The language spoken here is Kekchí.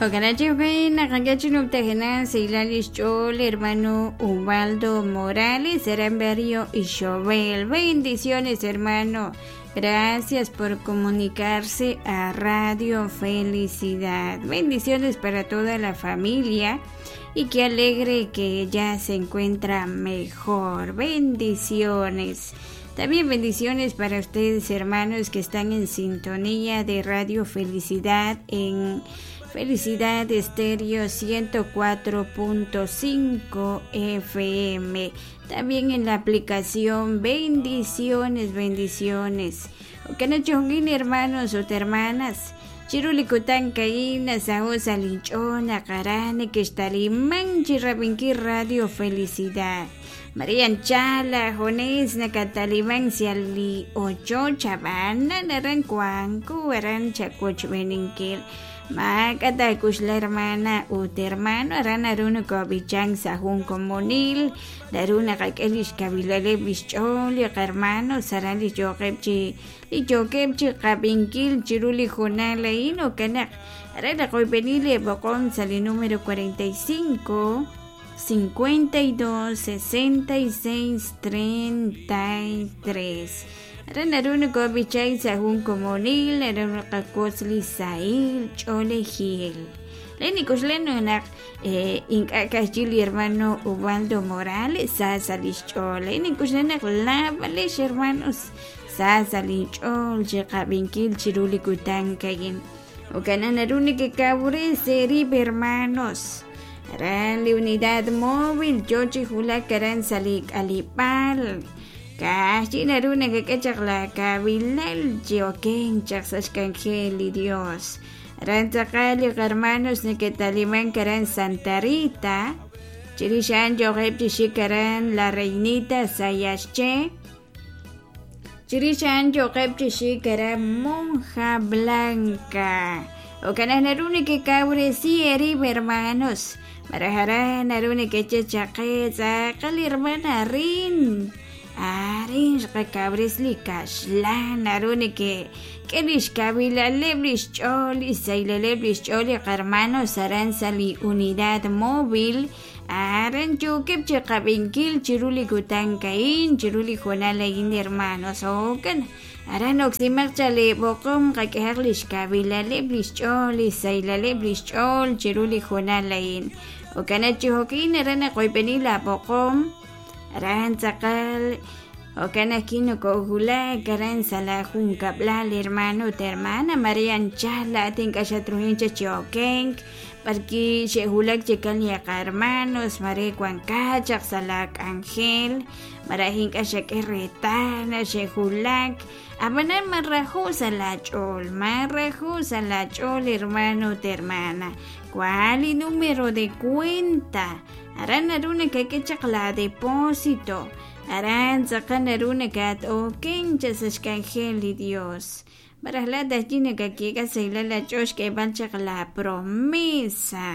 Jo'kan naq sahilal lix ch'ool hermano Ubaldo Morales aran barrio Ixobel. Bendiciones, hermano. Gracias por comunicarse a Radio Felicidad. Bendiciones para toda la familia y qué alegre que ya se encuentra mejor. Bendiciones. También bendiciones para ustedes, hermanos, que están en sintonía de Radio Felicidad en Felicidad Estéreo 104.5 FM. También en la aplicación Bendiciones, bendiciones. Okanachongin hermanos o hermanas. Chiru li kutan a'in nasaho' sa' linch'ool naq aran nekextaliman chirab'inkil Radio Felicidad. Maria Anchala, Jones nakataliman sa li ochoch ab'anan aran wanko aran chawochb'eninkil maak'a taak'uxla hermana ut hermano aran naru nokob'ichank sa' jun komonil naru naqak'e lix kawilaleb' lix ch'ool li qahermanos aran li yookeb' chi li yookeb' chi qab'inkil chiru li hoonal a'in jo'kan naq aran naqoyb'eni li b'oqom sa' li número 45 52 66 33. Aran naru nokob'ichank sa' jun komonil naru naqawotz li sahil ch'oolejil. Le nik'uxla naq ink'a' ka'ajwi' li hermano Ubaldo Morales sa sa' lix ch'ool nik'uxla naq laab'alex hermanos sa sa' linch'ool chiqab'inkil chiru li kutan a'in. Jo'kan naq naru nekekawres eerib' hermanos. Aran li unidad móvil yoo chi wulak aran sa' li k'aleb'aal. Ka'ajwi' naru nakak'e chaq la kawilal chi okenk chaq sa' xk'anjel li Dios. Aran tz'aqal li qahermanos neke'talimank aran Santa Rita. Chirix a'an yookeb' chi xik aran La Reinita Sayaxché. Chirix a'an yookeb' chi xik aran Monja Blanca. Jo'kan naq naru nekekawresi eerib' hermanos. Malaj aran naru nekeche chaq qe tz'aqal hermana arin. Arin xqakawresi li kaxlan naru nekek'e lix kawilaleb' lix ch'ool lix sahilaleb' lix ch'ool li qahermanos aran sa' li unidad móvil aran yookeb' chiqab'inkil chiru li kutan a'in chiru li hoonal a'in hermanos jo'kan aran oksimaq chaq li b'oqom qak'ehaq lix kawilaleb' lix ch'ool lix sahilaleb' lix ch'ool chiru li hoonal a'in. Jo'kan naq chi jo'kin aran naqoyb'eni la b'oqom aran tz'aqal jo'kan naq kinokowulak aran sa' la junkab'lal hermano ut hermana Maria Anchala laa'at ink'a' xatruhin chaq chi okenk b'arki xe'wulak chikan li qahermanos mare wankat chaq sa' la k'anjel malaj ink'a' xak'e reetal naq xe'wulak ab'anan marajo' sa' laach'ool marajo' sa' laach'ool hermano ut hermana cuál li número de cuenta aran naru nakak'e chaq la depósito aran tz'aqal naru nakat-okenk chaq sa' xk'anjel li Dios malaj laa'at ajwi' nakak'e sahilal aach'ool xk'eeb'al chaq la promesa.